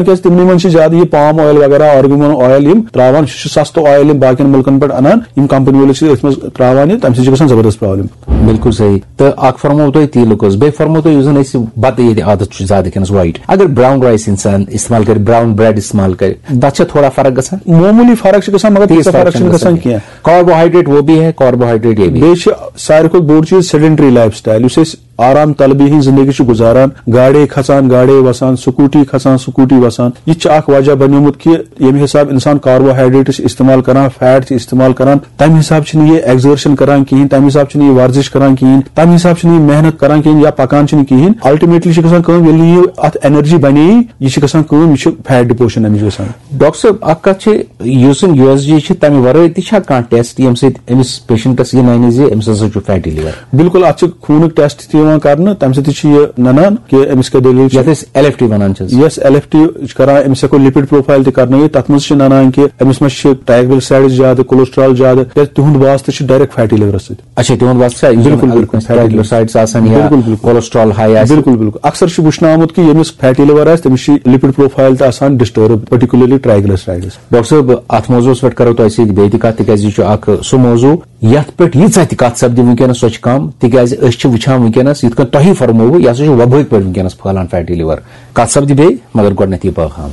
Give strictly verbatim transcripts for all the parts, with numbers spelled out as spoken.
کیازِ تِمنٕے منٛز چھِ زیادٕ یہِ پام اویل وغیرہ، آرگن اویل یِم تراوان، سُہ چھُ سستہٕ اویل یِم باقین مُلکن پٮ۪ٹھ انان، یِم کمپنی وٲلۍ چھِ أتھۍ منٛز تراوان یہِ، تَمہِ سۭتۍ چھِ گژھان زبردست پرابلم۔ بالکل صحیح۔ تہٕ اکھ فرموو تۄہہِ تیٖلُک حظ، بیٚیہِ فرموو تۄہہِ یُس زن اَسہِ بتہٕ ییٚتہِ عادت چھُ زیادٕ کھٮ۪نس، وایٹ، اگر براؤن رایس انسان استعمال کرِ، براؤن بریڈ استعمال کرِ، تتھ چھا تھوڑا فرق گژھان؟ معموٗلی فرق چھِ گژھان، مگر تیٖژ تیٖژاہ فرق فرق چھِنہٕ چھِنہٕ گژھان گژھان کینٛہہ۔ کاربوہائیڈریٹ وہ بھی ہے، کاربوہائیڈریٹ یہ بھی ہے۔ بیٚیہِ چھِ ساروی کھۄتہٕ بوٚڑ چیٖز سیڈنٹری لایف سٹایل، یُس أسۍ آرام طلبی ہٕنٛز زندگی چھِ گُزاران، گاڑے کھسان، گاڑے وسان، سکوٗٹی کھسان، سکوٗٹی وسان۔ یہِ تہِ چھُ اکھ وجہ بنیومُت کہِ ییٚمہِ حساب انسان کاربوہائیڈریٹ چھِ استعمال کران، فیٹ چھِ استعمال کران، تمہِ حساب چھِنہٕ یہِ ایگزرشن کران کِہینۍ، تمہِ حساب چھِنہٕ یہِ ورزش کران کِہینۍ، تمہِ حساب چھِنہٕ یہِ محنت کران کِہینۍ یا پکان چھِنہٕ کِہینۍ۔ الٹیمیٹلی چھِ گژھان کٲم، ییٚلہِ نہٕ یہِ اتھ انرجی بنے، یہِ چھِ گژھان کٲم، یہِ چھِ فیٹ ڈپوشن امِچ گژھان۔ ڈاکٹر صٲب، اکھ کتھ چھِ، یُس زن یو ایس جی چھِ، تمہِ ورٲے تہِ چھا کانٛہہ ٹیسٹ ییٚمہِ سۭتۍ أمِس پیشنٹس یہِ ننہِ زِ أمِس ہسا چھُ فیٹی لور؟ بالکل، اتھ چھِ خوٗنُک ٹیسٹ تہِ یِوان کرنہٕ، تمہِ سۭتۍ تہِ چھِ یہِ ننان کہِ أمِس کیٛاہ دٔلیٖل چھِ۔ یتھ أسۍ ایل ایف ٹی ونان چھِ۔ یس ایل ایف ٹی چھِ کران، أمِس ہٮ۪کو لپڈ پروفایل تہِ کرنٲوِتھ، تتھ منٛز چھِ ننان کہِ أمِس ما چھِ ٹرائیگلیسرائیڈز زیادٕ، کولیسٹرال زیادٕ، کیازِ تِہُنٛد واسطہٕ چھِ ڈائریکٹ فیٹی لورس سۭتۍ۔ اچھا، تِہُنٛد واسطہٕ چھا، یُس زن بالکل، الکٲنٛسہِ بالکل، فیٹی لور۔ ٹرائیگلیسرائیڈز آسان یا بالکل، بالکل۔ کولیسٹرال ہائی آسہِ؟ بالکل، بالکل۔ اکثر چھُ وٕچھنہٕ آمُت کہِ ییٚمِس فیٹی لور آسہِ، تٔمِس چھِ لپڈ پروفایل تہِ آسان ڈسٹرب، پرٹیکولرلی ٹرائیگلیسرائیڈز۔ ڈاکٹر صٲب، اتھ موضوعس پٮ۪ٹھ کرو تۄہہِ سۭتۍ بیٚیہِ تہِ کتھ، تِکیازِ یہِ چھُ اکھ سُہ موضوع یتھ پٮ۪ٹھ ییٖژاہ تہِ کتھ سپدِ وٕنکیٚنس، سۄ چھِ کم، تِکیازِ أسۍ چھِ وٕچھان وٕنکیٚنس، یِتھ کٔنۍ تۄہہِ فرمووُ، یہِ ہسا چھُ وبٲیِک پٲٹھۍ وٕنکیٚنس پھٔہلان فیٹی لور۔ کتھ سپدِ بیٚیہِ، مگر گۄڈٕنیتھ یہِ پیغام۔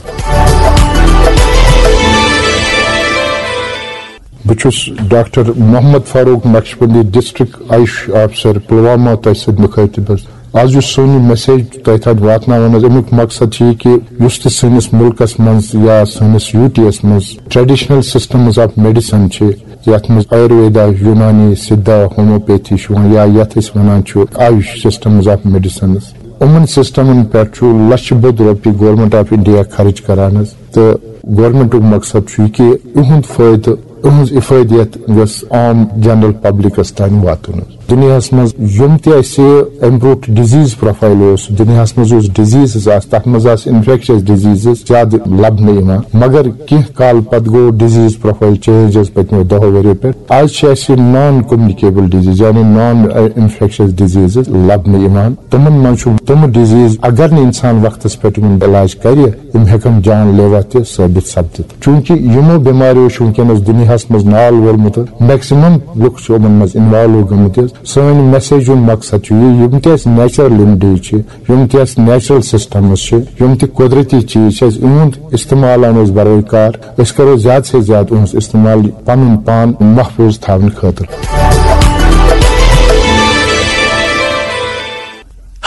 بہٕ چھُس doctor Mohammad Farooq Naqshbandi, district AYUSH officer Pulwama, تۄہہِ سۭتۍ مُخٲطِب حظ۔ آز یُس سون یہِ میسیج تۄہہِ تام واتناوان حظ، اَمیُک مقصد چھُ یہِ کہِ یُس تہِ سٲنِس مُلکَس منٛز یا سٲنِس یوٗ ٹی یَس منٛز traditional systems of medicine چھِ، یَتھ منٛز آیُرویدا، یوٗنانی، سِدھا، ہومیوپیتھی چھُ یِوان، یا یَتھ أسۍ وَنان چھُ آیُش systems of medicines، یِمَن سسٹمن پٮ۪ٹھ چھُ لچھِ بوٚد رۄپیہِ گورنمنٹ آف انڈیا خرٕچ کران حظ۔ تہٕ گورنمنٹُک مقصد چھُ یہِ کہِ یِہُنٛد فٲیدٕ، یِہٕنٛز افٲدیت گٔژھ عام جنرل پبلکس تام واتُن حظ۔ دُنیاہس منٛز یِم تہِ اَسہِ امہِ برونٛٹھ ڈِزیٖز پروفایل اوس، دُنیاہس منٛز یُس ڈِزیٖزز آسہٕ، تتھ منٛز آسہٕ انفیکشس ڈِزیٖزز زیادٕ لبنہٕ یِوان، مگر کینٛہہ کال پتہٕ گوٚو ڈِزیٖز پروفایل چینج حظ پٔتمیو دہو ؤریو پٮ۪ٹھ۔ آز چھِ اَسہِ نان کومنِکیبل ڈِزیٖز، یعنی نان انفیکشس ڈِزیٖزز لبنہٕ یِوان۔ تِمن منٛز چھُ تِم ڈِزیٖز، اگر نہٕ انسان وقتس پٮ۪ٹھ یِمن علاج کرِ، یِم ہٮ۪کن جان لیوا تہِ ثٲبت سپدِتھ۔ چوٗنٛکہِ یِمو بٮ۪ماریو چھُ وٕنکیٚنس دُنیاہس منٛز نال وولمُت، میکسیمم لُکھ چھِ یِمن منٛز انوالو گٔمٕتۍ۔ سٲنۍ میسیج ہُنٛد مقصد چھُ یہِ، یِم تہِ اَسہِ نیچرل ریمڈیٖز چھِ، یِم تہِ اَسہِ نیچرل سسٹمز چھِ، یِم تہِ قۄدرٔتی چیٖز چھِ، اَسہِ یِہُنٛد استعمال اَنو أسۍ بروے کار۔ أسۍ کرو زیادٕ سے زیادٕ یِہُنٛد استعمال پنُن پان محفوظ تھاونہٕ خٲطرٕ۔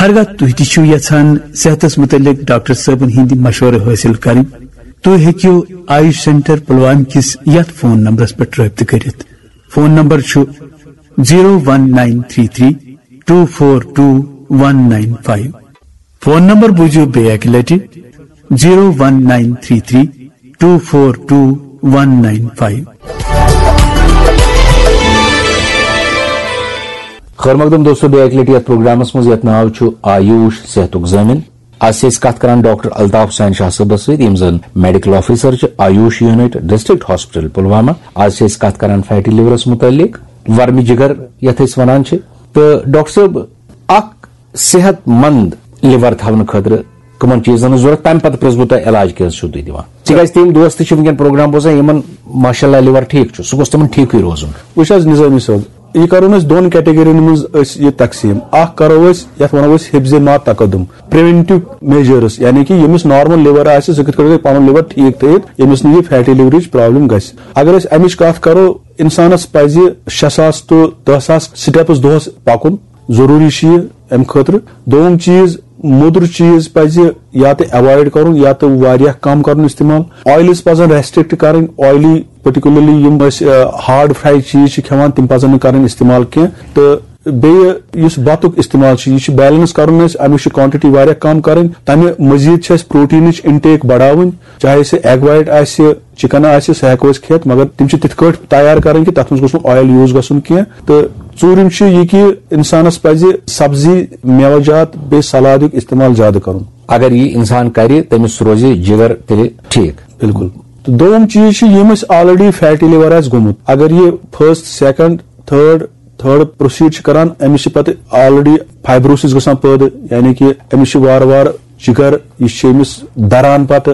ہرگاہ تُہۍ تہِ چھِو یژھان صحتس متعلق ڈاکٹر صٲبن ہٕنٛدۍ مشورٕ حٲصِل کرٕنۍ، تُہۍ ہیٚکِو آیوش سینٹر پلوامہ کِس یتھ فون نمبرس پٮ۪ٹھ رٲبطہٕ کٔرِتھ۔ فون نمبر چھُ zero one nine three three two four two one nine five۔ Phone number بوٗزِو بیٚیہِ اکہِ لٹہِ، zero one nine three three two four two one nine five۔ خٲر مقدم دوستو، بیٚیہِ اکہِ لٹہِ یتھ پروگرامس منٛز یتھ ناو چھُ آیوش صحتُک ضٲمِن۔ از چھِ أسۍ کتھ کران ڈاکٹر الطاف حسین شاہ صٲبس سۭتۍ، یِم زن میڈیکل آفیسر چھِ Ayush unit district hospital Pulwama. از چھِ أسۍ کتھ کران فیٹی لورس متعلق، ورمہِ جگر یتھ أسۍ ونان چھِ۔ تہٕ ڈاکٹر صٲب، اکھ صحت مند لِور تھاونہٕ خٲطرٕ کٕمن چیٖزن ہٕنٛز ضروٗرت، تَمہِ پتہٕ پرٛژھ بہٕ تۄہہِ علاج کیٛاہ حظ چھِو تُہۍ دِوان؟ تِکیٛازِ تِم دوست تہِ چھِ وٕنکیٚن پروگرام بوزان، یِمن ماشاء اللہ لِور ٹھیٖک چھُ، سُہ گوٚژھ تِمن ٹھیٖکھٕے روزُن۔ وٕچھ حظ نظٲمی صٲب، یہِ کرو أسۍ دۄن کیٹیگرین منٛز أسۍ یہِ تقسیٖم۔ اکھ کرو أسۍ یتھ ونو أسۍ حفظ ما تقدم، پریونٹیو میجرس، یعنی کہِ ییٚمِس نارمل لِور آسہِ، سُہ کِتھ کٔنۍ ہیٚکہِ پنُن لِور ٹھیٖک تھٲیِتھ، ییٚمِس نہٕ یہِ فیٹی لِورٕچ پرابلم گژھِ۔ اگر أسۍ امِچ کتھ کرو، انسانس پزِ شےٚ ساس to دہ ساس steps دۄہس پکُن۔ ضروٗری چھُ یہِ امہِ خٲطرٕ۔ دوٚیِم چیٖز، موٚدُر چیٖز پزِ یا تہٕ ایوایڈ کرُن یا تہٕ واریاہ کم کرُن استعمال۔ آیلز پزن ریسٹرکٹ کرٕنۍ، آیلی پرٹیکولرلی یِم أسۍ، آ، ہارڈ فرایڈ چیٖز چھِ کھٮ۪وان، تِم پزن نہٕ کرٕنۍ استعمال کینٛہہ۔ تہٕ بیٚیہِ یُس بتُک استعمال چھُ، یہِ چھُ بیلنس کرُن اَسہِ، اَمِچ چھِ quantity واریاہ کم کرٕنۍ۔ تمہِ مزید چھِ اَسہِ پروٹینٕچ intake بڑاوٕنۍ، چاہے سُہ ایگ وایٹ آسہِ، چکن آسہِ، سُہ ہٮ۪کو أسۍ کھٮ۪تھ، مگر تِم چھِ تِتھ کٲٹھۍ تیار کرٕنۍ کہِ تتھ منٛز گوٚژھ نہٕ آیل یوٗز گژھُن کینٛہہ۔ تہٕ ژوٗرِم چھُ یہِ کہِ انسانس پزِ سبزی، میوٕ جات، بیٚیہِ سلادُک استعمال زیادٕ کرُن۔ اگر یہِ انسان کرِ، تٔمِس روزِ جگر تیٚلہِ ٹھیٖک۔ بالکل۔ تہٕ دوٚیُم چیٖز چھُ، ییٚمِس already فیٹی لِور آسہِ گوٚمُت، اگر یہِ first, second, third, third proceed چھِ کران، أمِس چھِ پتہٕ already fibrosis گژھان پٲدٕ، یعنی کہِ أمِس چھِ وارٕ وارٕ جگر، یہِ چھِ أمِس دران پتہٕ۔